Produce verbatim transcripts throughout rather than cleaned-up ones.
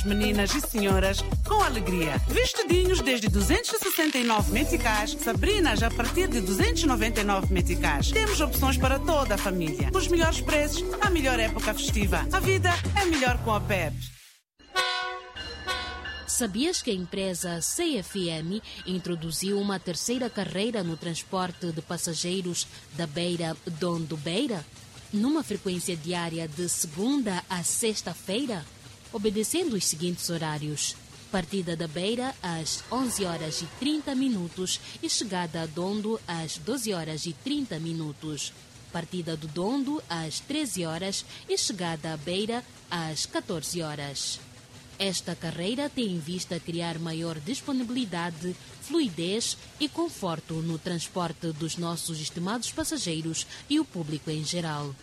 Meninos, meninas e senhoras com alegria. Vestidinhos desde duzentos e sessenta e nove meticais, sabrinas a partir de duzentos e noventa e nove meticais. Temos opções para toda a família. Os melhores preços, a melhor época festiva. A vida é melhor com a P E P. Sabias que a empresa C F M introduziu uma terceira carreira no transporte de passageiros da Beira Dondo Beira? Numa frequência diária de segunda a sexta-feira, obedecendo os seguintes horários: partida da Beira às onze horas e trinta minutos e chegada a Dondo às doze horas e trinta minutos. Partida do Dondo às treze horas e chegada à Beira às quatorze horas. Esta carreira tem em vista criar maior disponibilidade, fluidez e conforto no transporte dos nossos estimados passageiros e o público em geral.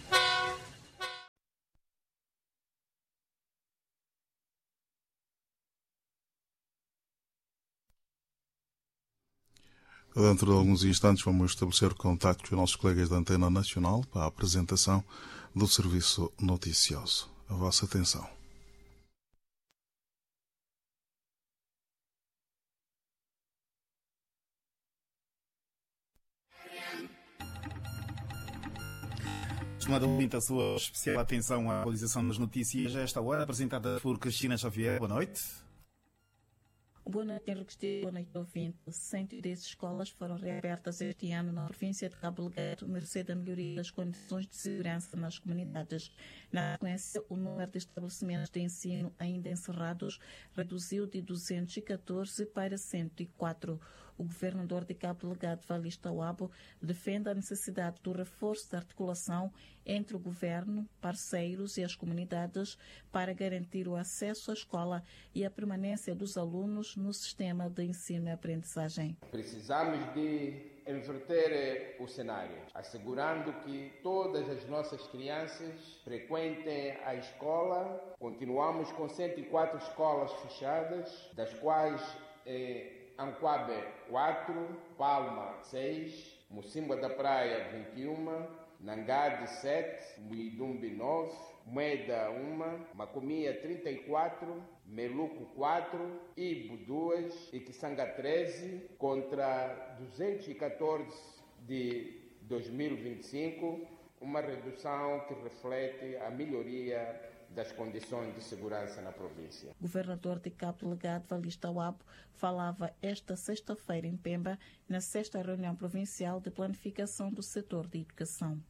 Dentro de alguns instantes vamos estabelecer contacto com os nossos colegas da Antena Nacional para a apresentação do serviço noticioso. A vossa atenção. Estimado ouvinte, a sua especial atenção à atualização das notícias a esta hora, apresentada por Cristina Xavier. Boa noite. Boa noite, Henrique. Boa noite, ouvinte. cento e dez escolas foram reabertas este ano na província de Cabo Delgado, mercê da melhoria das condições de segurança nas comunidades. Na sequência, o número de estabelecimentos de ensino ainda encerrados reduziu de duzentos e catorze para cento e quatro. O governador de Cabo Delgado, Valista Wabo, defende a necessidade do reforço da articulação entre o governo, parceiros e as comunidades para garantir o acesso à escola e a permanência dos alunos no sistema de ensino e aprendizagem. Precisamos de inverter o cenário, assegurando que todas as nossas crianças frequentem a escola. Continuamos com cento e quatro escolas fechadas, das quais eh, Ancuabe quatro, Palma seis, Mocimboa da Praia vinte e um, Nangade sete, Muidumbe nove, Mueda um, Macomia trinta e quatro, Meluco quatro, Ibo dois e Quissanga treze, contra duzentos e catorze de dois mil e vinte e cinco, uma redução que reflete a melhoria das condições de segurança na província. O governador de Cabo Delgado, Valista Wabo, falava esta sexta-feira em Pemba, na sexta reunião provincial de planificação do setor de educação.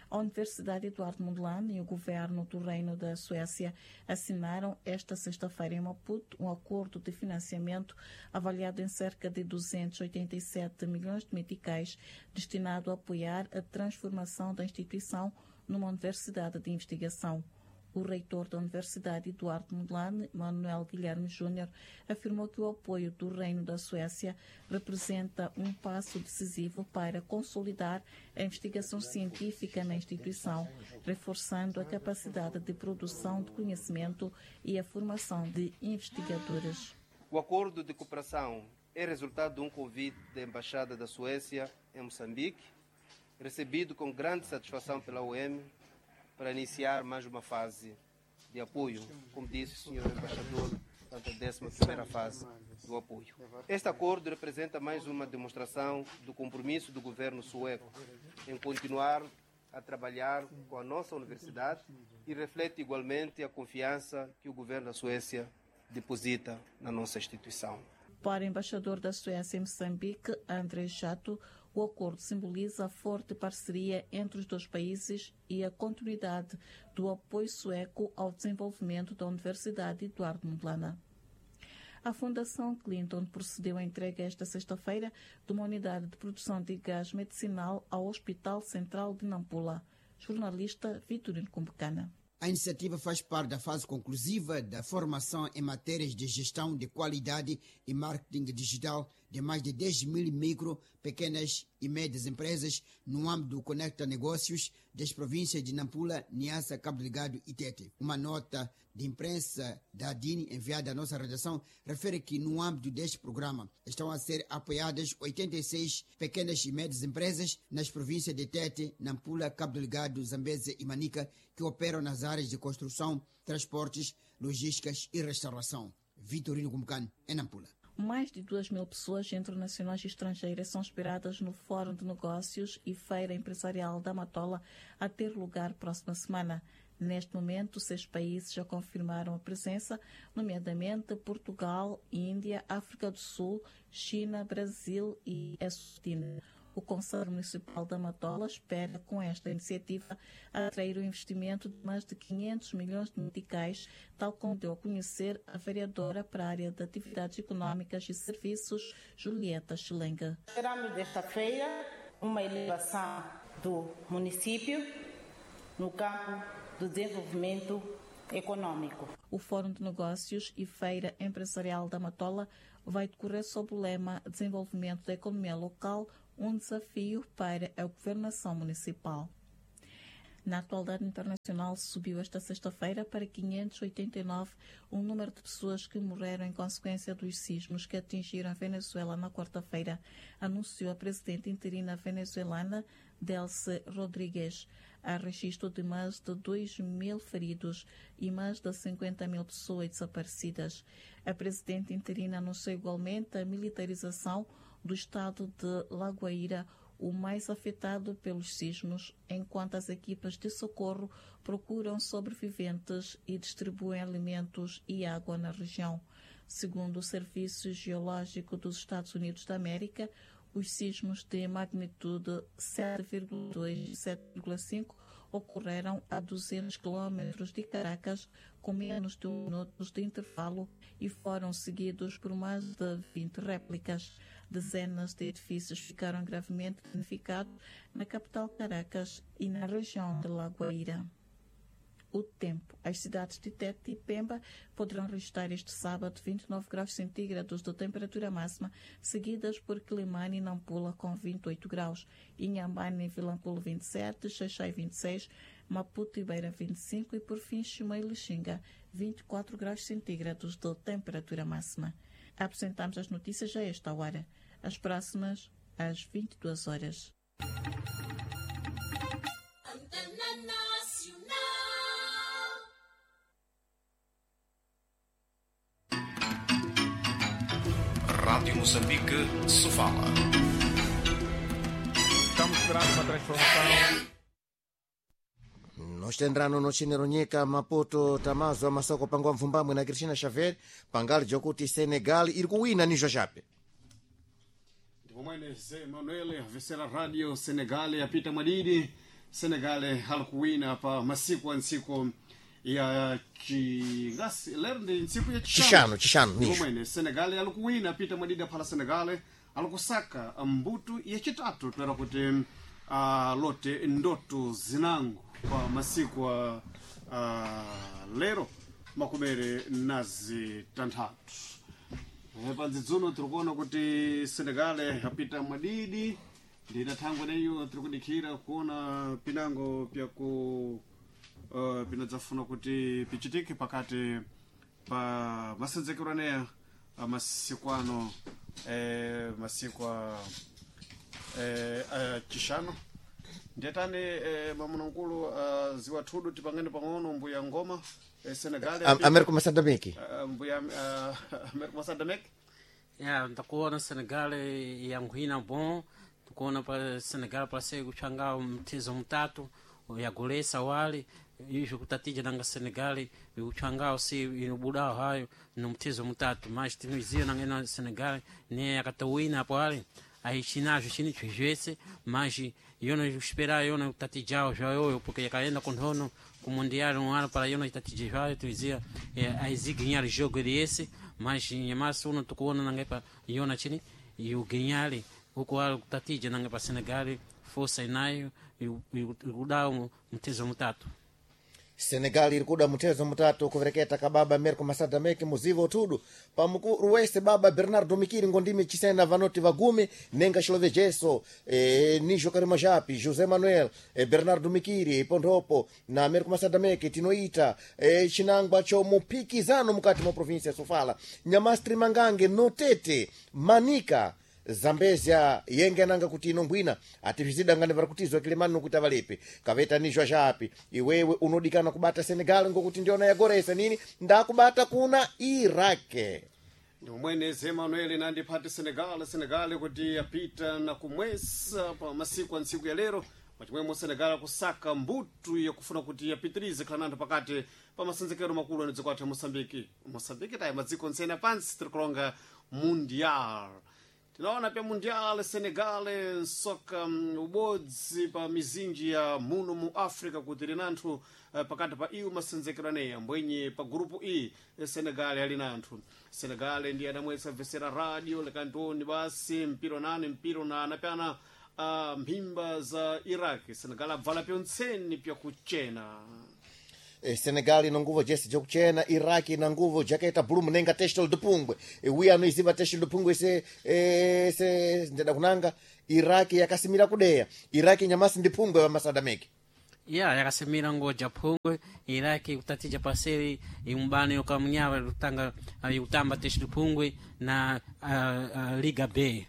A Universidade Eduardo Mondlane e o governo do Reino da Suécia assinaram esta sexta-feira em Maputo um acordo de financiamento avaliado em cerca de duzentos e oitenta e sete milhões de meticais, destinado a apoiar a transformação da instituição numa universidade de investigação. O reitor da Universidade Eduardo Mondlane, Manuel Guilherme Júnior, afirmou que o apoio do Reino da Suécia representa um passo decisivo para consolidar a investigação científica na instituição, reforçando a capacidade de produção de conhecimento e a formação de investigadores. O acordo de cooperação é resultado de um convite da Embaixada da Suécia em Moçambique, recebido com grande satisfação pela U M, para iniciar mais uma fase de apoio, como disse o senhor embaixador, portanto, a décima primeira fase do apoio. Este acordo representa mais uma demonstração do compromisso do governo sueco em continuar a trabalhar com a nossa universidade e reflete igualmente a confiança que o governo da Suécia deposita na nossa instituição. Para o embaixador da Suécia em Moçambique, André Chato, o acordo simboliza a forte parceria entre os dois países e a continuidade do apoio sueco ao desenvolvimento da Universidade Eduardo Mondlane. A Fundação Clinton procedeu à entrega esta sexta-feira de uma unidade de produção de gás medicinal ao Hospital Central de Nampula. Jornalista Vitorino Cumbecana. A iniciativa faz parte da fase conclusiva da formação em matérias de gestão de qualidade e marketing digital de mais de dez mil micro, pequenas e médias empresas no âmbito do Conecta Negócios das províncias de Nampula, Niassa, Cabo Delgado e Tete. Uma nota de imprensa da ADINE enviada à nossa redação refere que no âmbito deste programa estão a ser apoiadas oitenta e seis pequenas e médias empresas nas províncias de Tete, Nampula, Cabo Delgado, Zambeze e Manica, que operam nas áreas de construção, transportes, logísticas e restauração. Vitorino Cumcano, em Nampula. Mais de duas mil pessoas internacionais e estrangeiras são esperadas no Fórum de Negócios e Feira Empresarial da Matola, a ter lugar próxima semana. Neste momento, seis países já confirmaram a presença, nomeadamente Portugal, Índia, África do Sul, China, Brasil e Eswatini. O Conselho Municipal da Matola espera, com esta iniciativa, atrair o investimento de mais de quinhentos milhões de meticais, tal como deu a conhecer a vereadora para a área de Atividades Econômicas e Serviços, Julieta Chilenga. Esperamos desta feira uma elevação do município no campo do desenvolvimento econômico. O Fórum de Negócios e Feira Empresarial da Matola vai decorrer sob o lema Desenvolvimento da Economia Local, um desafio para a governação municipal. Na atualidade internacional, subiu esta sexta-feira para quinhentos e oitenta e nove o número de pessoas que morreram em consequência dos sismos que atingiram a Venezuela na quarta-feira, anunciou a presidente interina venezuelana Delcy Rodríguez. Há registro de mais de dois mil feridos e mais de cinquenta mil pessoas desaparecidas. A presidente interina anunciou igualmente a militarização do estado de La Guaira, o mais afetado pelos sismos, enquanto as equipas de socorro procuram sobreviventes e distribuem alimentos e água na região. Segundo o Serviço Geológico dos Estados Unidos da América, os sismos de magnitude sete vírgula dois e sete vírgula cinco ocorreram a duzentos quilômetros de Caracas, com menos de um minuto de intervalo, e foram seguidos por mais de vinte réplicas. Dezenas de edifícios ficaram gravemente danificados na capital Caracas e na região de La Guaira. O tempo. As cidades de Tete e Pemba poderão registrar este sábado vinte e nove graus centígrados de temperatura máxima, seguidas por Quelimane e Nampula com vinte e oito graus, Inhambane e Vilanculo vinte e sete, Xaixai vinte e seis, Maputo e Beira vinte e cinco e, por fim, Chimoio e Lixinga vinte e quatro graus centígrados de temperatura máxima. Apresentamos as notícias a esta hora. As próximas, às vinte e duas horas. Rádio Moçambique, Sofala. Estamos esperando uma transformação. Nós tendrano no chineronyeka Maputo tamazo amasoko pangwa mvumbamwe na Cristina Xavier pangali jokuti Senegal iri kuwina nijo chape. Ndipomwene Zé Manuel vesera radio Senegal yapita mwadidi Senegal halikuwina pa masiku a ntsiku ya chingasi lero ndi ntsiku ya Chixano, chixano, nijo. Ndipomwene Senegal alikuwina pita mwadidi aphala Senegal alikusaka mbutu yachitatu toera kuti uh, lote ndoto zinango pa masiku a uh, lero makumere nazi tanthatu. Eh, panzidzuno tiri kuona kuti Senegal apita mwadidi ndina thangwe neyo tiri kudikhira kuona pinango pyaku uh, pinadzafuna kuti pichitike pakati pa masenzekero aneya masiku ano eh, masiku a eh, a chixano ndiyatani eh, mamunankulu uh, ziwathudu tipangane pang'ono mbuya ngoma eh, Senegal Am- Américo Massadameke. uh, mbuya uh, Américo Massadameke. Ya, ndakuona Senegal yanguhina bom, tukuona pa Senegal parece kuchanga mtezo mutatu yagolesa wali izvo kutatija nanga Senegal uchangao si inobudao hayo no mtezo mutatu mas tinoziva nanga ina Senegal ne yakatowina apo ali aichinazvo chini chizvese mas yona esperar yona kutatijao zvayoyo porque yakaenda kunhono ku mundial um ano para yona itatija zvayo tuizia aiziganhar jogo desse mas nyamasi uno tukuona nanga pa yona chini iuganhar uko ali kutatija nanga pa Senegal força inayo ikudao mtezo mutatu. Senegal iri kuda mutezo mutatu kuvereketa kababa Américo Massadameke muzivo utudu pamukuru wese baba Bernardo Mikiri ngondime chisena vanoti vagumi nenga chilovejeso e, nijo karima japi José Manuel e, Bernardo Mikiri pondhopo na Américo Massadameke tinoita e, chinangwa cho mupikizano mukati mwa província ya Sofala Nhamastri Mangange Notete Manica Zambezia yenge ananga kuti ino mbwina atizvidangane vari kutizwa kilemani nokuti avalepe kaveta nizwa zvapi iwewe unodikana kubata Senegal ngokuti ndiona yagoresa nini ndakubata kuna Iraq. Ndimwenezi Emanuel nandipati Senegal Senegal kuti yapita na kumwesa pa masiku a ntsiku ya lero pachimwemo Senegal akusaka mbutu yakufuna kuti yapitirize khala nanthu pakati pa masenzekero makulu a dziko athu ya Moçambique. Moçambique tayi madziko ntsene pansi tiri kulonga Mundial. Tinaona pya Mundial Senegal nsoka mm, ubodzi pa mizinji ya muno mu Africa kuti ili nanthu eh, pakati pa iwo masenzekero aneya mbwenye pa grupu E eh, Senegal ali nanthu. Senegal ndiye adamwetsa vesera radio lekantoni basi mpiro nane mpiro na anapyana uh, mphimba za Iraq. Senegal abvala pyontseni pyakuchena. Eh, Senegal ina nguvo jese jokuchena, Iraq ina nguvo jakaita blue munenga teshtel dupungwe. E, wiya anoiziva teshtel dupungwe se eh, se ndeda kunanga Iraq yakasimira kudeya. Iraq nyamasi ndi pungwe wa masadameki. Ya yakasimira ngoja phungwe Iraki kutatija paseri imbano yokamunyawa lutanga yutamba teshtel phungwe na uh, uh, Liga B.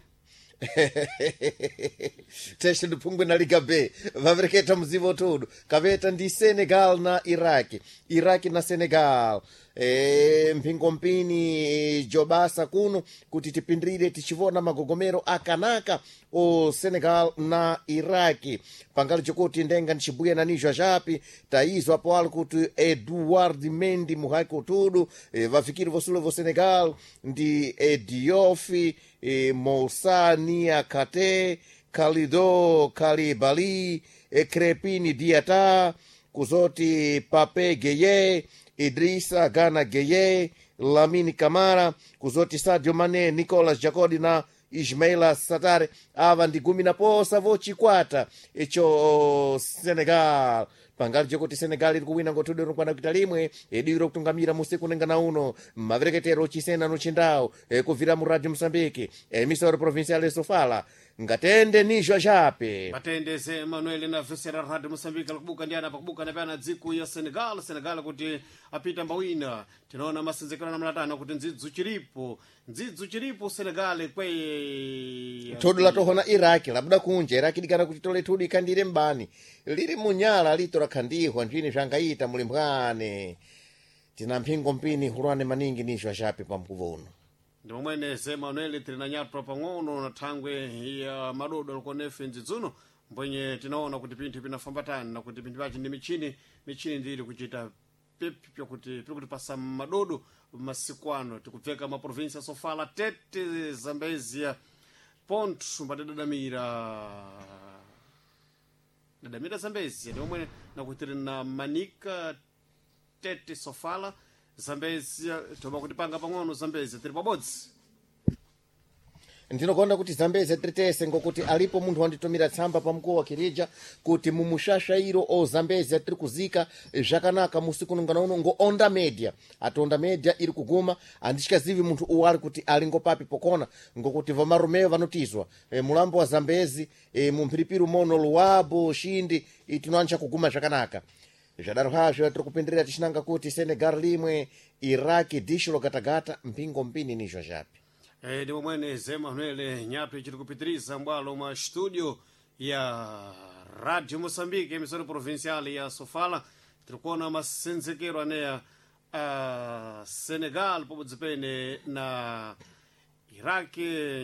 Teshtel dupungwe na Liga B vavereketa muzivo tudu kaveta ndi Senegal na Iraq, Iraq na Senegal. E, mphingo mpini jobasa kuno kuti tipindire tichivona magogomero akanaka o Senegal na Iraq pangali chokuti ndenga nchibuya na nizwa japi taizwa apo ali kuti Eduard Mendy muhaki utudu e, vafikiri vosulo vo Senegal ndi Ediofi e, Moussa Niakate Kalido Kalibali e, Crepini Diata kuzoti Pape Gueye Idrissa Gana Gueye Lamine Camara kuzoti Sadio Mane Nicolas Jacodi na Ismaila Satare ava ndi gumi na posa vochikwata icho Senegal pangali jokuti Senegal iri kuwina ngothudu rinokwana kuita limwe ediro kutungamira musiku nengana uno mavereketero chisena nochindau e, kubvira mu Radio Mosambiki emisoro provincial e Sofala ngatende nizwa jape Batendeze Emmanuel na vesera Radio Mosambiki alikubuka ndi ana pakubuka na pyana dziko ya Senegal. Senegal kuti apita mbawina tinaona masenzekero na mlatano kuti ndzidzu chiripo ndzidzu chiripo Senegal kweye thodo latohona Iraki labuda kunja Iraki dikana kuti tole thudu ikhandire mbani liri munyala lito lakhandihwa nzvini zvangaita muli mbwane tina mphingo mpini hulwane maningi nizwa jape pamkuvo uno. Ndi momweneze Emanuel tili na nyatwa pang'ono na thangwe ya madodo alikonefe ndzidzuno mbwenye tinaona kuti pinthu pinafambatana na kuti pinthu pachi ndi michini michini ndili kuchita pipi pyakuti piri kutipasa madodo masiku ano tikubveka maprovinsi ya Sofala Tete Zambezia Ponto mbatidadamira dadamira Zambezia ndi momwe nakuti tili na Manika Tete Sofala Zambezia toba kutipanga pang'ono Zambezia tili pabodzi. Ndinokuona kuti Zambezi tiri ngokuti alipo munthu wanditumira tsamba pamkuwo wa Kirija kuti mumushashairo o Zambezi tiri kuzika zvakanaka musiku nungana uno ngo Onda Media ati Onda Media iri kuguma andityazivi munthu uwu ali kuti ali ngopapi pokona ngokuti vamarumeyo vanotizwa e, mulambo wa Zambezi e, mumphiripiri mono Luabo Shindi tinoancha kuguma zvakanaka zvadaro hazvo tiri kupindirira tichinanga kuti Senegal limwe Iraq disho logatagata mpingo mpini nizvo zvapi. Eh, ndi momweneze Emanuel nyato ichiri kupitiriza mbwalo mwa studio ya Radio Moçambique emissora provincial ya Sofala tiri kuona masenzekero aneya uh, Senegal pabodzi pene na Iraq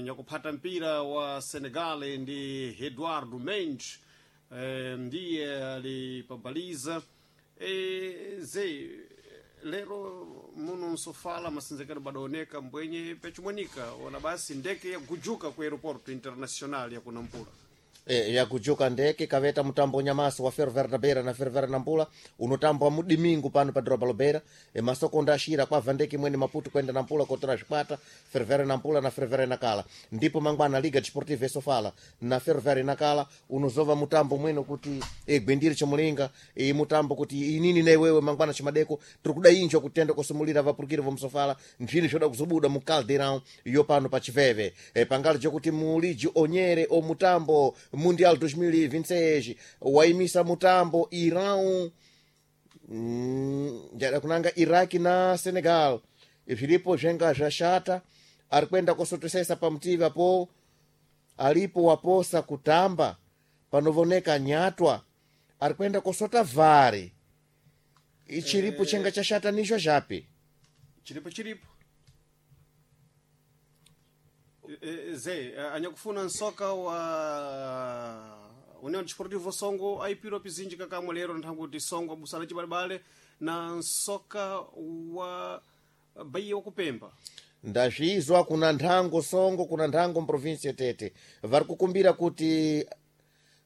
nyakuphata mpira wa Senegal ndi Eduardo Mendes eh, ndiye alipabaliza eh, ze lero muno msofala masenzekero badaoneka mbwenye pechimwanika ona basi ndeke yagujuka ku aeroporto internacional ya kunampula. E, yakujuka ndeke kaveta mutambo nyamasi wa Ferroviário da Beira na Ferroviário Nampula unotambwa mudimingu pano pa doroba Lobeira. E, masoko ndashira kwabva ndeke imweni Maputo kwenda Nampula kotora zvikwata Ferroviário Nampula na Ferroviário Nacala ndipo mangwana Liga Desportiva e Sofala na Ferroviário Nacala unozova mutambo mwene kuti e, gwindiri chomulinga e, mutambo kuti inini na iwewe mangwana chimadeko tiri kuda injo kutenda kusumulira vapurukiri vomsofala nzvini zvoda kuzobuda mu Caldeirão yo pano pa chiveve e, pangali chokuti muliji onyere o mutambo Mundial dois mil e vinte e seis waimisa mutambo Irão mm, njada kunanga Iraq na Senegal zviripo zvenga zvashata ari kuenda kosotosesa pamutivi apo Alipo waposa kutamba panovoneka nyatwa arikwenda kosota vari ichiripo Eh. chenga chashatanishwa zvapi chiripo chiripo E, e, ze eh, anyakufuna nsoka wa União Desportivo Songo aipiro pizinji kakamwe lero nthangu Songo abusana chibalebale na nsoka wa Bahia wakupemba ndazvizwa kuna nthango Songo kuna nthango mprovinsi Tete vari kukumbira kuti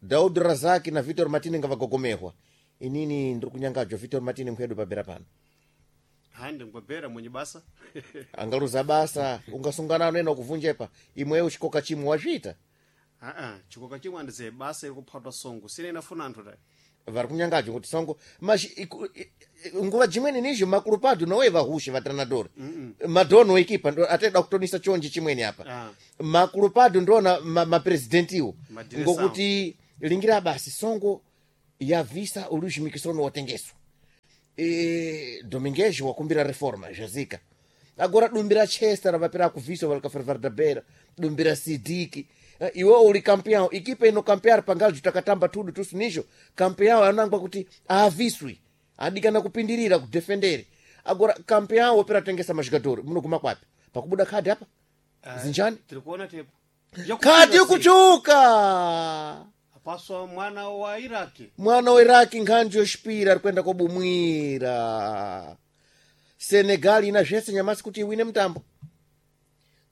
Daud Razaki na Vitor Martini ngavagogomehwa inini ndiri kunyangadzwa Vitor Martini mkwedu pabera pano handi ngwabera mwenye basa angaluza basa ungasungana nena kuvunjepa imweyo chikoka chimwe wazviita aa chikoka chimwe andize basa iri kuphatwa Songo sine inafuna anthu tayi vari kunyangadzwa kuti Songo mas iku- i- i- nguva jimweni nizvo makulupado nowe vahushe vatranadori madono ekipa ndo ateda kutonisa chonje chimweni apa Ah. makulupado ndona ma- mapresidentiwo Madireção. ngokuti lingira basi Songo yavisa uluzhimikisono watengeswa e, Domingues wakumbira reforma zvazika agora dumbira Chester vapera kuvhiswa valikafervardabera dumbira Sidiki. Eh, iwe uli campeão ikipa ino campear pangajo takatamba tudu tusu nicho campeão anangwa kuti aaviswi adikana kupindirira kudefendere agora campeão wopera tengesa majogador munoguma kwapi pakubuda khadi apa zinjani tiri kuona tepo khadi kuchuka apaswa mwana wa Iraki mwana wa Iraki nkhanji yoxipira ari kuenda kobumwira Senegal ina zvese nyamasi kuti iwine mutambo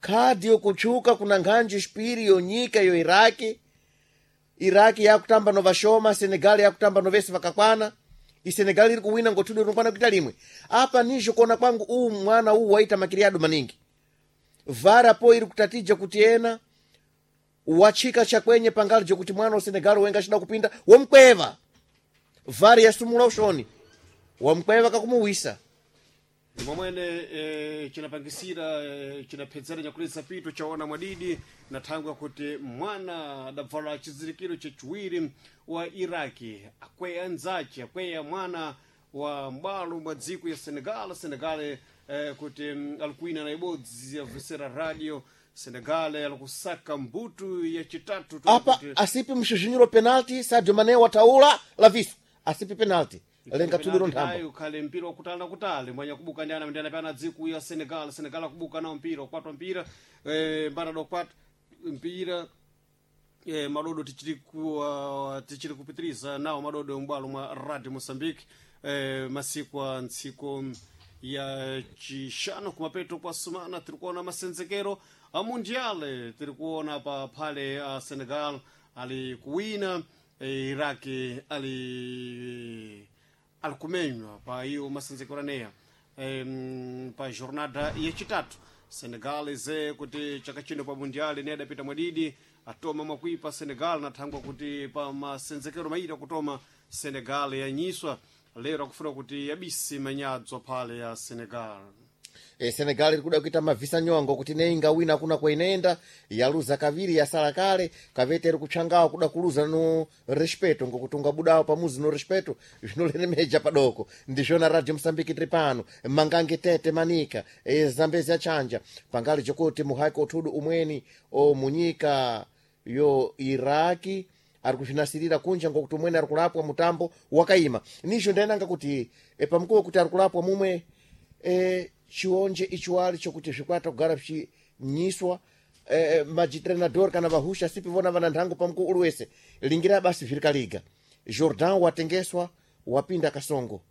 khadi yokutsvuka kuna nkhanji yoxipiri yonyika yo Iraki Iraki yakutamba novashoma Senegal yakutamba novese vakakwana iSenegal iri kuwina ngotudu rinokwana kuita limwe apa nizvo kuona kwangu uwu mwana uwu waita makiriado maningi vara po iri kutatija kuti ena wachika chakwenye pangali jokuti mwana wa Senegal wenga achida kupinda womkweva vari yasumula ushoni wamkweva kakumuwisa momwene e, chinapangisira e, chinaphedzera nyakulisa pito chaona mwadidi na thangwe kuti mwana adabvala chizirikiro chachiwiri wa Iraki akweya anzace akweya mwana wa mbalo mwa dziko ya Senegal Senegal eh, kuti mm, alikuina na ibodzi yavesera radio Senegal alikusaka mbutu ya chitatu tu apa kuti- asipi mshuzhinyiro penalti Sadio Mane wataula laviso asipi penalti lenga tudiro nthambo ayo khale mpira wakutala na kutale mwanya kubuka ndi ana ndi ana pana dziku ya Senegal Senegal akubuka nawo mpira ukwatwa mpira eh, mbana dokwata mpira eh, madodo tichiri ku uh, tichiri kupitiriza nawo madodo m'bwalo mwa Radio Mozambique eh, masiku a ntsiko ya chixano kumapeto kwa sumana tiri kuona masenzekero a mundiale tiri kuona pa phale a Senegal ali kuwina eh, Iraki ali alikumenywa pa iyo masenzekero aneya em, pa jornada yachitatu Senegal ize kuti chaka chino pa mundial ne adapita mwadidi atoma mwakuipa Senegal nathangwa kuti pa masenzekero maita kutoma Senegal yanyiswa lero akufuna kuti yabise manyadzo phale ya Senegal e, Senegal iri kuda kuita mavhisa nyongo kuti nei ingawina kuna kwainoenda yaluza kaviri yasala kale kavete iri kutsvangawo kuda kuluza no respeto ngokuti ungabudawo pamuzi no respeto zvinoleremeja padoko ndizvona Radio Mosambiki tiri pano mangange Tete Manika e, Zambezi achanja pangali chokuti muhaki othudu umweni o munyika yo Iraki ari kuzvinasirira kunja ngokuti umweni ari kulapwa mutambo wakaima nizvo ndainanga kuti e, pamukuwo kuti ari kulapwa mumwe e, chionje ichiwali chokuti zvikwata kugara zvichinyiswa e, majitrenador kana vahusha sipi vona vana nthango pamukuwo uli wese lingira basi zviri kaliga Jordan watengeswa wapinda kasongo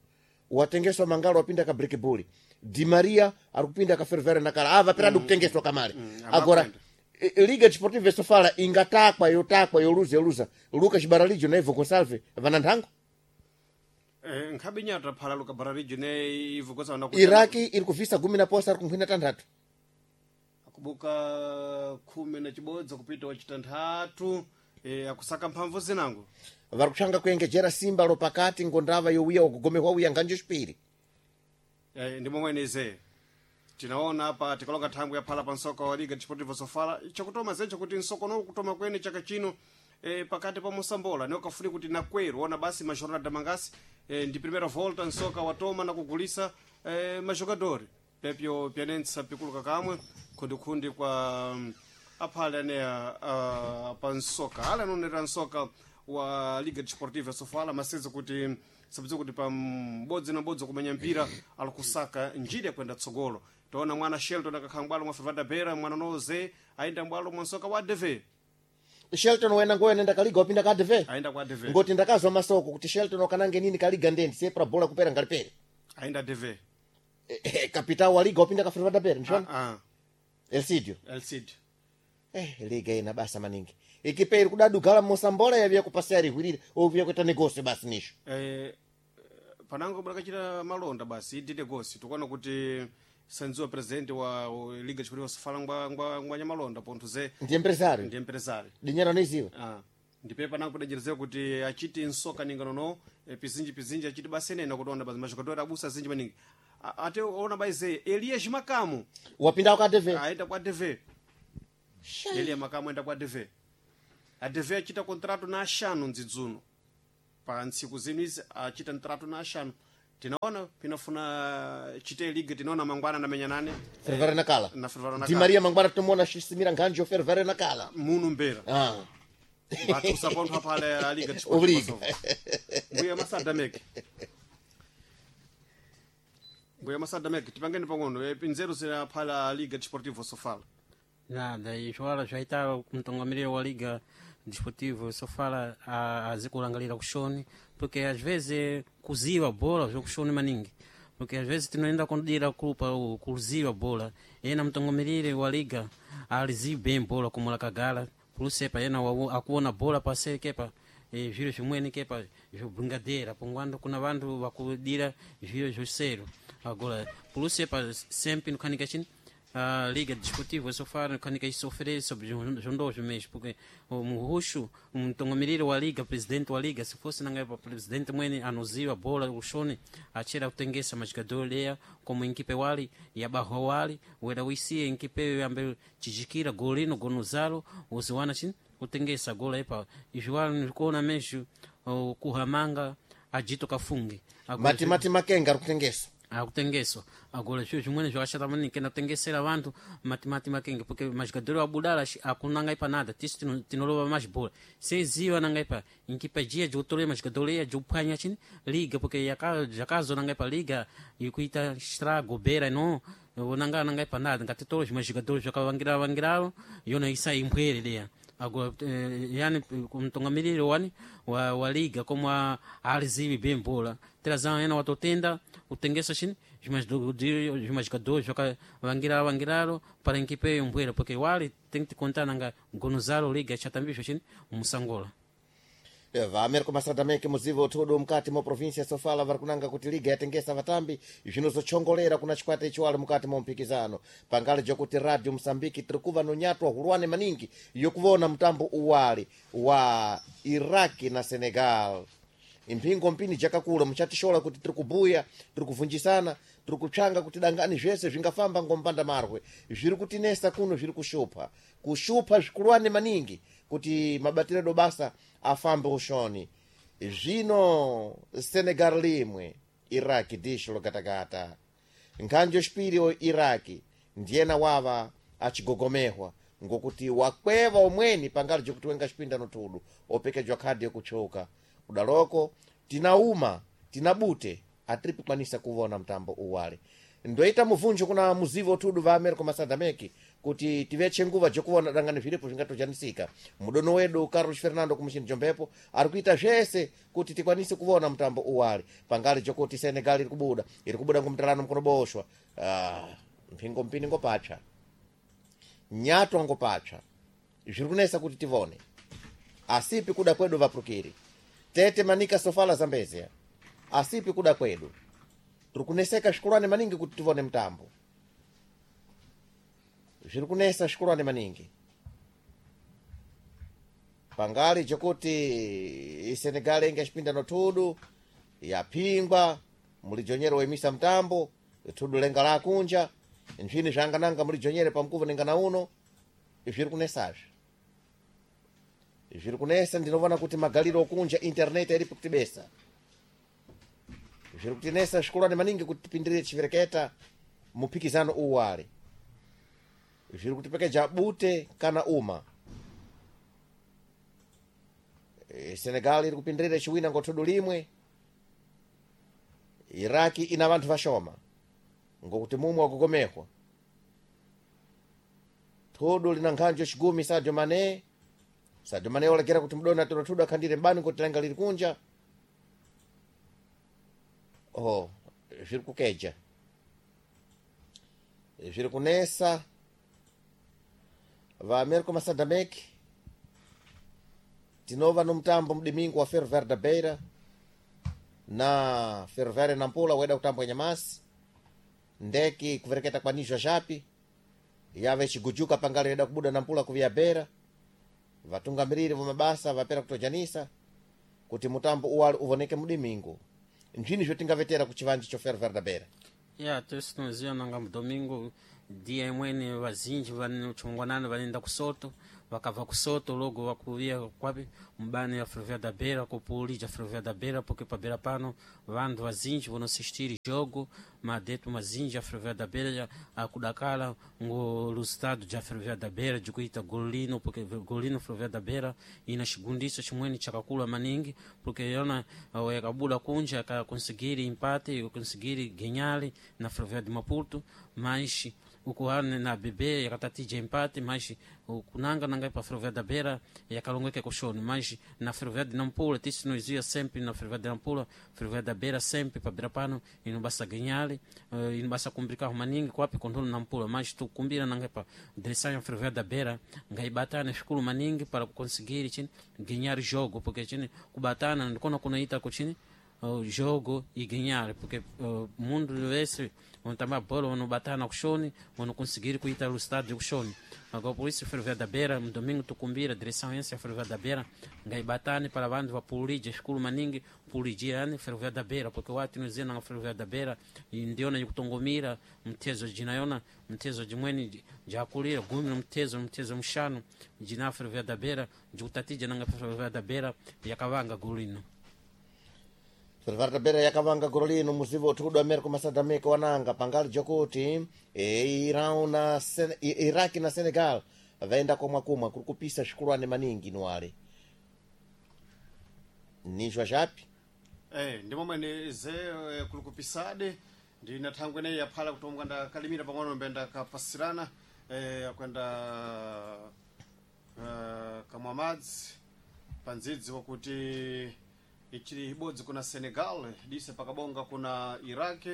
watengeswa Mangalo wapinda ka Brikibuli Di Maria ari kupinda ka Fervere nakala ava peradi mm. kutengeswa kamale Mm, agora e- Liga Desportiva Sofala ingatakwa yotakwa yoluza yoluza Lucas Baralijo na Ivo Gonçalves vana nthango eh, nkhabe nyata phala Luka Bararijo ne Ivo Gonçalves Iraki iri kuvhisa gumi na posa ari kunkhwina tanthatu akubuka khumi na chibodzi kupita wachitanthatu eh, akusaka mphamvu zinango vari kutsvanga kuengejera simba lopakati ngondava yowiya ukugomehwa wiya nganjo chipiri Eh, ndi momwene ize tinaona apa tikalonga thangwi yaphala pa nsoka wa Liga Desportiva Sofala chakutoma zencho kuti nsokono kutoma kwene chaka chino eh, pakati pa mosambola niokafuni kuti nakwero ona basi majornada mangasi eh, ndi primeira volta nsoka watoma na kugulisa eh, majogadori pepyo pyanentsa pikuluka kamwe khundikhundi kwa aphale aneya uh, pa nsoka ale anonera nsoka wa Liga Desportiva Sofala maseza kuti sabudza kuti pa m'bodzi na m'bodzi kumenya mpira ali kusaka njira yakuenda tsogolo taona mwana Shelton akakhala m'bwalo mwa Fervada Beira mwana Noze ayenda m'bwalo mwa nsoka wa D V. Shelton wena ngoyena ndakaliga wapinda ka D V. Ayenda kwa D V. Ngoti ndakazwa masoko kuti Shelton wakanange nini kaliga ndendi sepra bola kupera ngalipere. Ayenda D V. Eh, eh, kapitao wa liga wapinda ka Fervada Beira nshona. Ah, ah. Elsidio. Elsidio. Eh, liga ina basa maningi. Ikipe iri kudadugala mosambola yavya kupasea rihwirira ovya kuita negosio basi nisho. Eh, panango brakachita malonda basi ndi negosi tikuona kuti sanziwa president wa wa Liga Desportiva Sofala ngwa ngwa ngwa nyamalonda pontho ze Ndi empresario. Ndi empresario. Dinyera niziwa. Ah. Ndipe panango kudajerezera kuti achiti nsoka ninga nono eh, pizinji pizinji achiti basi nena kuti ona basi majogador abusa zinji maningi. A- Ate ona baize Elias Makamu Wapinda kwa D V. Aenda kwa D V. Elias Makamu aenda kwa D V. A D V achita contrato na axano ndzidzuno. Pa ntsiku zinu izi achita ntrato na axano. Tinaona pinafuna chite liga tinaona mangwana na menyanane. Fervara na kala. Na Fervara na Di kala. Maria mangwana tumona shisimira nkhanjo Fervara na kala. Munu mbera. Ah. Batusa pontho aphale a Liga Obriga. Desportiva. Mbuya masada meke. Mbuya masada meke tipangeni pang'ono eh, nzeru zina phala a Liga Desportiva Sofala. Nada, izvo zvaita mutungamiriri wa Liga Desportiva Sofala azi kulangalira kushoni, porque às vezes kuziva bola zvokushoni maningi, porque às vezes tinoenda kundira kupa kuziva bola ena mutungamiriri wa liga alizivi bem bola como lakagala pulusepa ena wawo- akuona bola paseri kepa eh, zviro zvimweni kepa zvobringadeira pongwando kuna vantu vakudira zviro zvosero agora pulusepa sempre nokhanika chini a Liga Desportiva Sofala nokhanika isofere sobre zvondozvo mesmo, porque o muruxo mutungamiriri wa liga presidente wa liga se fosse nanga pa presidente mwene anoziva bola ushone achera kutengesa majogador leya como equipe wali yabarro wali wera uisiye equipe yambe chijikira golino gonozalo uziwana chini kutengesa gola epa izvo wali ndikuona mesmo uh, kuhamanga ajito kafunge Agora, Mati mati makenga ari kutengeswa. Akutengeswa agora zviro zvimweni zvakashata maningi kena kutengesera vantu matimati makenge porque majogador abudala akunanga ipa nada tisu tino- tinolova mazibhola seziva nanga ipa nkipa jiya jotole majogador eya jophwanya chini liga porque yaka- zvakazonanga ipa liga ikuita estrago bera no onanga nanga ipa nada ngatitole zvimajogador zvakavangira vangiralo yona isa imbwere leya agora eh, yani kumtungamiriri wani wa, wa liga como a alizivi bem bola terazão ena watotenda kutengesa chini zvimajogador zvakavangira vangiralo para equipe yombwera porque wali tem que contar nanga gonozalo liga chatambisho chini musangola. Vameriko masadameke muzivo uthudu mukati mwa provinsia Sofala vari kunanga kuti liga yatengesa vatambi zvinozochongolera kuna chikwata ichi wali mukati mwa mpikizano pangali jokuti Radio Msambiki tiri kuva nonyatwa hulwane maningi yokuvona mtambo uwali wa Iraki na Senegal. Imphingo mpini jakakula muchatishola kuti tiri kubuya tiri kuvunjisana tiri kupshanga kuti dangani zvese zvingafamba ngompanda marwe zviri kutinesa kuno zviri kushupha kushupha zvikulwane maningi kuti mabatiro edu basa afambe ushoni. Zvino Senegal limwe Iraki disho logatagata nkhanjo xipiri o Iraki ndiyena wava achigogomehwa ngokuti wakweva omweni pangali jokuti wenga xipinda nothudu opekejwa khadi yokuchoka kudaloko tinauma tinabute atiripi kwanisa kuvona mtambo uwali. Ndoita muvunjo kuna muzivo uthudu va Americo Masadameki kuti tiveche nguva jokuvona dangani zviripo zvingatojanisika. Mudono wedu Carlos Fernando kumuchini jombepo ari kuita zvese kuti tikwanise kuvona mtambo uwali pangali jokuti Senegal iri kubuda iri kubuda ngomtalano mkono boshwa. Ah, mphingo mpini ngopatsa nyatwa ngopatsa zviri kunesa kuti tivone asipi kuda kwedu vapurukiri tete manika Sofala Zambezia asipi kuda kwedu tiri kuneseka zvikulwane maningi kuti tivone mtambo zviri kunesa zvikulwane maningi pangali jokuti Senegal inga xipinda nothudu yaphingwa mulijonyere woimisa mtambo thudu lenga lakunja nzvini zvangananga mulijonyere pamkuvo nengana uno zviri kunesazve zviri kunesa. Ndinovona kuti magaliro okunja internet iripo kutibesa zviri kutinesa zvikulwane maningi kuti tipindirire chivereketa muphikizano uwali. Zviri kutipekeja bute kana uma. E, Senegal iri kupindirira chiwina ngo thudu limwe. Iraki ina vanthu vashoma ngokuti mumwe wakugomehwa. Thudu lina nkhanjo chigumi Sadio Mane. Sadio Mane walekera kuti mdoni atoro thudu akhandire mbani kuti langa liri kunja. Oh, zviri kukeja, zviri kunesa. Va Américo Masadamek tinova no mutambo mdimingo wa Ferroviário da Beira na Ferroviário Nampula weda kutambwa nyamasi ndeki kuvereketa kwa nijwa japi yave chigujuka pangali yeda kubuda Nampula kuvia Beira. Vatungamiriri va mabasa vapera kutojanisa kuti mutambo uwali uvoneke mdimingo. Nzvini zvotingavetera ku chivanji cho Ferroviário da Beira? Ya, tese tinoziva nanga mudomingo dia imweni vazinji vane chingwanani vanoenda kusoto, vakabva kusoto logo vakuviya kwapi mubani ya Ferroviário da Beira kupulija Ferroviário da Beira, porque pa Beira pano vantu vazinji vonosistiri jogo madeto mazinji a Ferroviário da Beira akudakala ngo resultado ja Ferroviário da Beira de kuita golino, porque golino Ferroviário da Beira ina chigundiso chimweni chakakula maningi, porque yona yakabuda kunja akakonsigiri empate yakonsigiri ganhar na Ferroviário de Maputo, mas ukuhane na B B yakatatija empate, mas kunanga nanga pa Ferroviário da Beira yakalongeke kushoni, mas na Ferroviário de Nampula tisi noizia sempre na Ferroviário de Nampula, Ferroviário da Beira sempre pa Beira pano inobasa ganhar, uh, inobasa kumbrika maningi kwapi kontolo Nampula, mas tukumbira nanga pa direção ya Ferroviário da Beira ngaibatana shukuru maningi para conseguir chini ganhar jogo, porque chini kubatana ndikona kunaita kuchini uh, jogo e ganhar, porque uh, mundo esse onde também a bola onde bater na kushoni, onde conseguir kuita o estádio kushoni. Agora por isso Ferroviário da Beira no domingo tucumbira direção essa Ferroviário da Beira ngaibatane para vandu vapulija shukuru maningi pulijiani Ferroviário da Beira, porque wati nozena na Ferroviário da Beira ndiona ikutongomira mtezo jinayona mtezo jimweni jakulira gumi mtezo mtezo mshanu jina Ferroviário da Beira jikutatija nanga Ferroviário da Beira yakavanga golino. Ferroviário da Beira yakavanga golino muzivo uthudu Américo Massadameke wananga pangali jokuti e, Irão na Sen Iraki na Senegal vaenda komwa kumwa kuri kupisa swikulwane maningi nuwale nijwa japi. Eh, ndi momwene ze eh, kuli kupisade ndi na thangwe ineyi yaphala kuti omwe ndakalimira pang'ono mbe ndakapasirana eh, akwenda eh, kamwa madzi pa ndzidzi wakuti ichili ibodzi kuna Senegal dise pakabonga kuna Iraq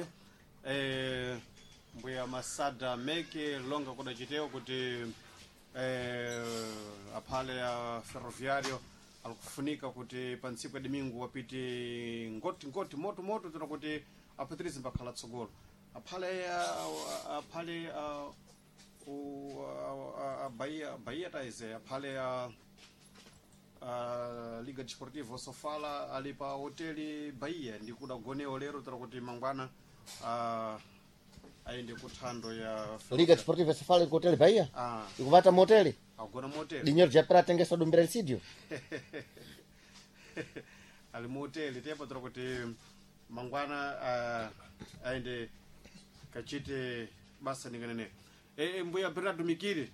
eh, mbuya Masada Meke longa kudachitewa kuti eh, aphale ya Ferroviario alikufunika kuti pa ntsiku ya domingo wapite ngoti ngoti moto moto tena kuti apatirize mbakhala tsogolo aphale ah, aphale ah, u- ah, ah, Bahia Bahia taize aphale ah, uh, Liga Desportiva Sofala ali pa hoteli Bahia ndikuda goneo lero tera kuti mangwana uh, aende kuthando ya Liga Desportiva Sofala iko hoteli Bahia Ah. ikuvata moteli agona moteli dinheiro japera atengesa dumbira lisidio ali muhoteli tepo tera kuti mangwana uh, aende kachite basa ninganene e, e, mbuya Bernardo Mikiri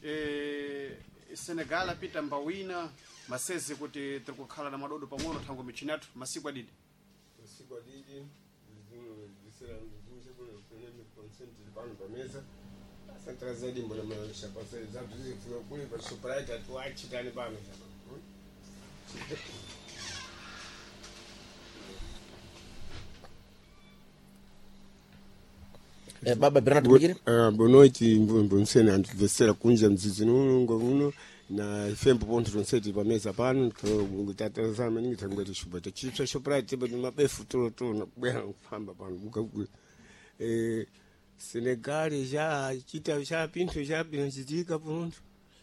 e, Senegal apita mbawina masezi kuti tiri kukhala na madodo pang'ono thango michini athu masiku adidi Masiku adidi pano pameza asantrazaidi mbona kuli pa Shoprite atuachitani pano eh, baba Bernardo Mikiri. Ah, boa noite, mbonsene antibvesera kunja mdzidzi uno ngomuno na ifembo pontho tonseti pameza pano tatazana maningi tangwete shuba tachipsa Shoprite but mabefu tolo tolo kubwera kufamba pano buka eh Senegal já chita cha pinthu cha pinachitika pontho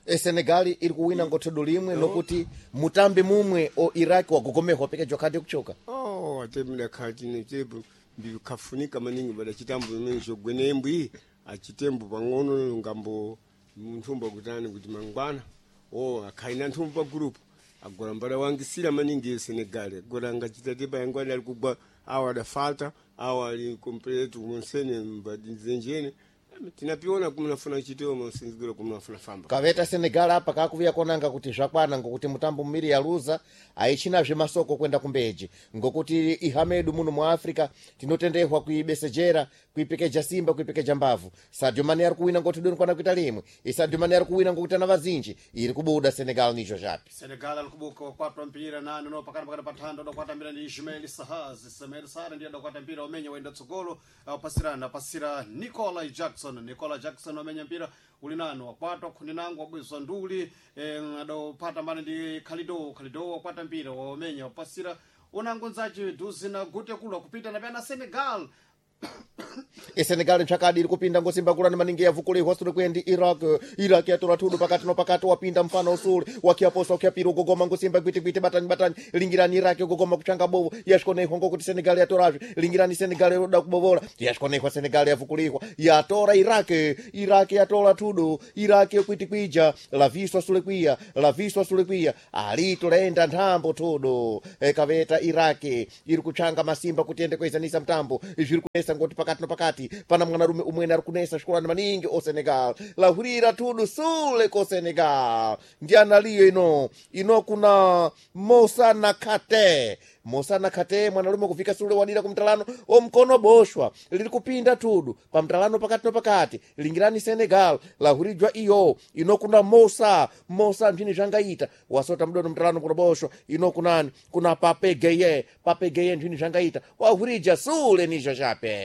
E Senegal iri kuwina ngo thudu limwe lokuti mutambi mumwe o Iraki wagogomehwa pekejwa khadi kuchoka. Oh, ate mdakhatine chepo mbikafunika maningi bada chitambo imene chogwenembwi achitembo pang'ono ngambo nthumba kutani kuti mangwana o akhaina nthumba pa group agora mbada wangisira maningi e Senegal agora angachita tipa yangwana ali kugwa awa adafalta awa ali completo monsene mbadinzenjene Tinapiona kumnafuna chitoma sinzigiro kumnafuna famba. Kaveta Senegal apa kakuvuya konanga kuti zvakwana ngokuti mutambo mmiri yaluza aichinazve masoko kwenda kumbeji ngokuti ihamedu muno mu Africa tinotendehwa kuibesejera kuipekeja simba kuipekeja mbavu. Sadio Mane ari kuwina ngoti doni kwana kuita limwe. Sadio Mane ari kuwina ngokuti ana vazinji iri kubuda Senegal nicho zvapi. Senegal alikubuka wakwatwa mpira nani no pakati pakati pathando adakwata mpira ndi Ismail Sahaz. Ismail Sahar ndiye adakwata mpira umenya waenda tsogolo apasirana apasira Nicola Jackson. Nicola Jackson wamenya mpira uli nani wakwatwa khundi nangu wabwezwa nduli eh, adopata mbani ndi Khalido. Khalido wakwata mpira wamenya wapasira unango nzace duzi na gute kula kupita na pena Senegal. Senegal nchakadi iri kupinda ngosimba kulani maningi yavukulihwa sule kwendi Iraq. Iraq yatora thudu pakati no pakati wapinda mfano usule wakiaposa wakiapira ugogoma ngosimba gwiti batani batani lingirani Iraq ugogoma kuchanga bovo yashikoneihwa ngokuti Senegal yatorazve lingirani Senegal yoda kubovola yashikoneihwa Senegal yavukulihwa yatora Iraq. Iraq yatora thudu Iraq yokwitikwija laviswa sule kwiya laviswa sule kwiya alito laenda nthambo thudu e, kaveta Iraq iri kuchanga masimba kuti ende kuizanisa mtambo zviri kunesa ngoti pakati no pakati pana mwanarume umwene ari kunesa svikolani maningi o Senegal lahurira tudu sule ko Senegal ndianaliyo ino ino kuna Mosa Nakate. Mosa Nakate mwanarume kufika sule wadira kumtalano omkono boshwa liri kupinda tudu pamtalano pakati no pakati lingirani Senegal lahurijwa iyo ino kuna Mosa Mosa mchini zvangaita wasota mdono mtalano kuno boshwa ino kunani kuna Pape Gueye. Pape Gueye mchini zvangaita wahurija sule nicho chape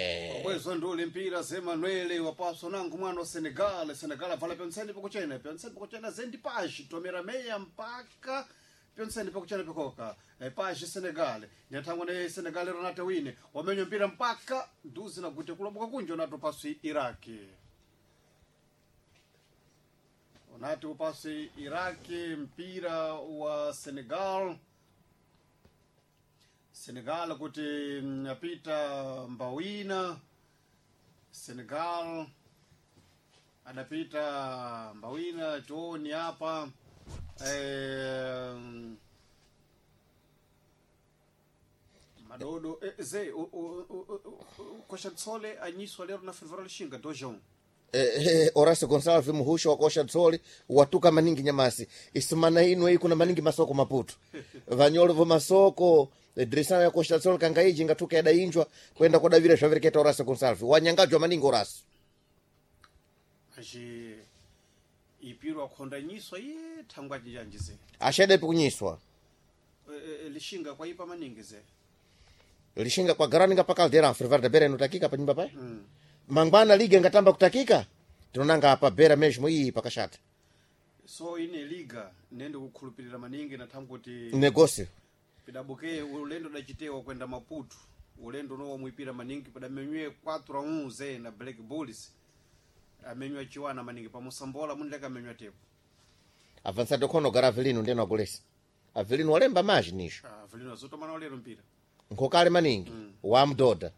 bwezo nduli mpira Zemanuele wapaso nangu mwana wa Senegal. Senegal avala pyonseni pakuchena pyonseni pakuchena zendi paji tomera meya mpaka pyonseni pakuchena pakoka e, paji Senegal nyathangwa ne Senegal Ronaldo wine wamenya mpira mpaka nduzi na gute kuloboka kunja unato pasi Iraki unati upasi Iraki mpira wa Senegal. Senegal kuti apita mbawina. Senegal adapita mbawina chooni hapa eh, madodo eh, ze kosha tsole anyiswa lero na Fervora Lishinga dojão Eh, eh, Horacio Gonçalves muhusho wa kosha tsoli watuka maningi nyamasi isumana ino iyi kuna maningi masoko maputu vanyolo vo masoko eh, dirisana ya kosha tsoli kangaiji ngatuka yadainjwa kwenda kodavira zvavereketa Horacio Gonçalves wanyangajwa maningi Horacio achi ipiro akhonda nyiswa ye thangwa janji ze ashadepi kunyiswa e, e, Lishinga kwaipa maningi ze Lishinga kwa garaninga pa Caldeira Fervora da Beira inotakika pa nyumba paye mm. mangwana liga ngatamba kutakika tinonanga apa Beira mesmo iyi pakashata so ine liga nende kukhulupirira maningi na thangu kuti negócio pidabuke ulendo dachitewa kwenda Maputo ulendo uno wamwipira maningi padamenywe quatro a um ze na Black Bulls amenywa chiwana maningi pamusambola munileka amenywa tepo avançado khono gara Avelino ndeno agolesa Avelino walemba maji nisho ah, Avelino azotomana walero mpira nkhokale maningi mm. wamdoda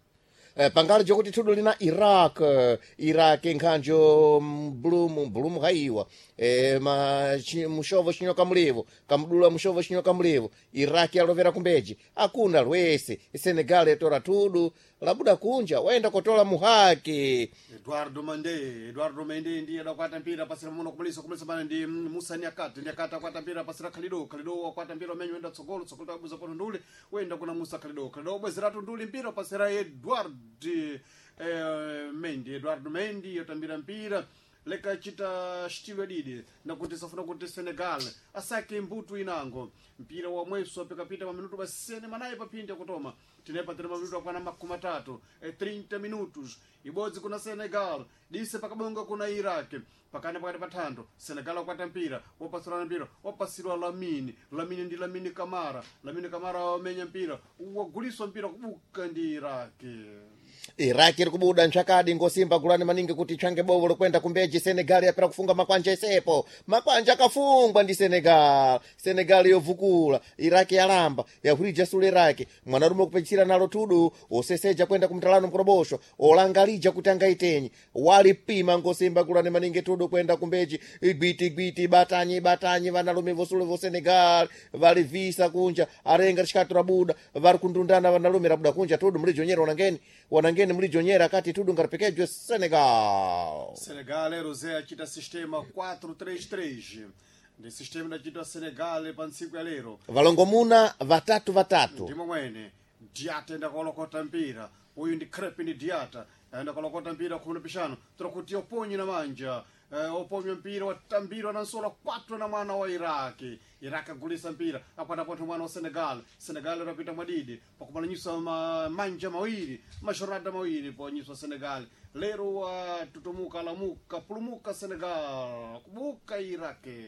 Eh, pangali jokuti thudu lina Iraq eh, Iraq nkhanjo mbulumu mbulumu haiwa eh, ma chi, mushovo chinyoka mlivo kamdula mushovo chinyoka mlivo Iraq yalovera kumbeji akuna lwese Senegal yatora thudu labuda kunja waenda kotola muhaki Eduardo Mande Eduardo Mende ndiye adakwata mpira pasira muno kumulisa kumulisa bana ndi Musa Nyakati Nyakati akwata mpira pasira Khalido Khalido akwata mpira umenyo wenda tsogolo tsogolo tabuza pano nduli wenda kuna Musa Khalido Khalido bwezeratu nduli mpira pasira Eduardo eh, Mendy Eduardo Mendy yotambira mpira leka chita xitilo didi nakuti safuna kuti Senegal asake mbutu inango mpira wa mweso apikapita maminutu basene manayi paphindi akutoma tinepatira maminutu akwana makumi atatu e trinta minutos ibodzi kuna Senegal dise pakabonga kuna Iraq pakana pakati pathando Senegal akwata mpira wapasulana mpira wapasilwa Lamini Lamini ndi Lamini Kamara Lamini Kamara wamenya mpira waguliswa mpira kubuka ndi Iraq Iraki iri kubuda nchakadi ngosimba gulani maningi kuti change bovo lokwenda kumbeji Senegal yapera kufunga makwanja esepo makwanja akafungwa ndi Senegal Senegal yovukula Iraki yalamba yahurija sule Iraki mwanarume kupechira nalo tudu oseseja kwenda kumtalano mkorobosho olangalija kuti angaitenyi walipima ngosimba gulani maningi tudu kwenda kumbeji igwiti igwiti batanyi batanyi vanalume vosule vo Senegal valivisa kunja arenga rishikatu rabuda vari kundundana vanalume rabuda kunja tudu mlijonyera wanangeni wanangeni Nangeni mlijonyera kati tudu ngaripekejwe Senegal. Senegal Rosé achita sistema quatro três três, ndi sistema idachitwa Senegal pa ntsiku ya lero. Valongomuna vatatu vatatu. Ndimo mwene Diata enda kolokota mpira, uyu ndi Crepin Diata, aenda kolokota mpira khumi na pixano tora kuti oponye na manja, eh, oponywa mpira watambirwa na nsola quatro na mwana wa Iraki. Iraki agulisa mpira akwata pontho mwana wa Senegal. Senegal rapita mwadidi pakumalanyisa ma, manja mawiri, majorada mawiri ponyiswa Senegal lero, watutumuka lamuka pulumuka Senegal kubuka Iraki.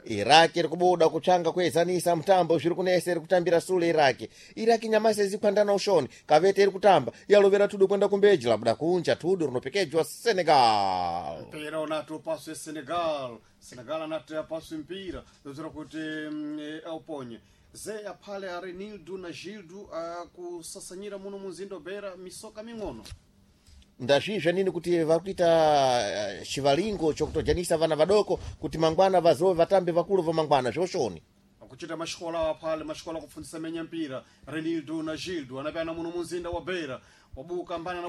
Iraki iri kubuda kutsvanga kuezanisa mutambo zviri kunesa, iri kutambira sule Iraki. Iraki nyamasi izikwandana ushoni kavete iri kutamba yalovera tudu kwenda kumbeji labuda kunja tudu rinopekejwa Senegal. Mpira unati upaswe Senegal. Senegal anati apaswe mpira zozera kuti mm, eh, auponye ze aphale Arenildo na Gildo akusasanyira muno munzinda Beira misoka ming'ono. Ndazvizva nini kuti vakuita eh, chivalingo chokutojanisa vana vadoko kuti mangwana vazove vatambe vakulu va mangwana zvoshoni. Akuchita maxikola aphale maxikola akufundisa menya mpira. Renildo na Gildo anapyana muno munzinda wa Beira wabuka mbana na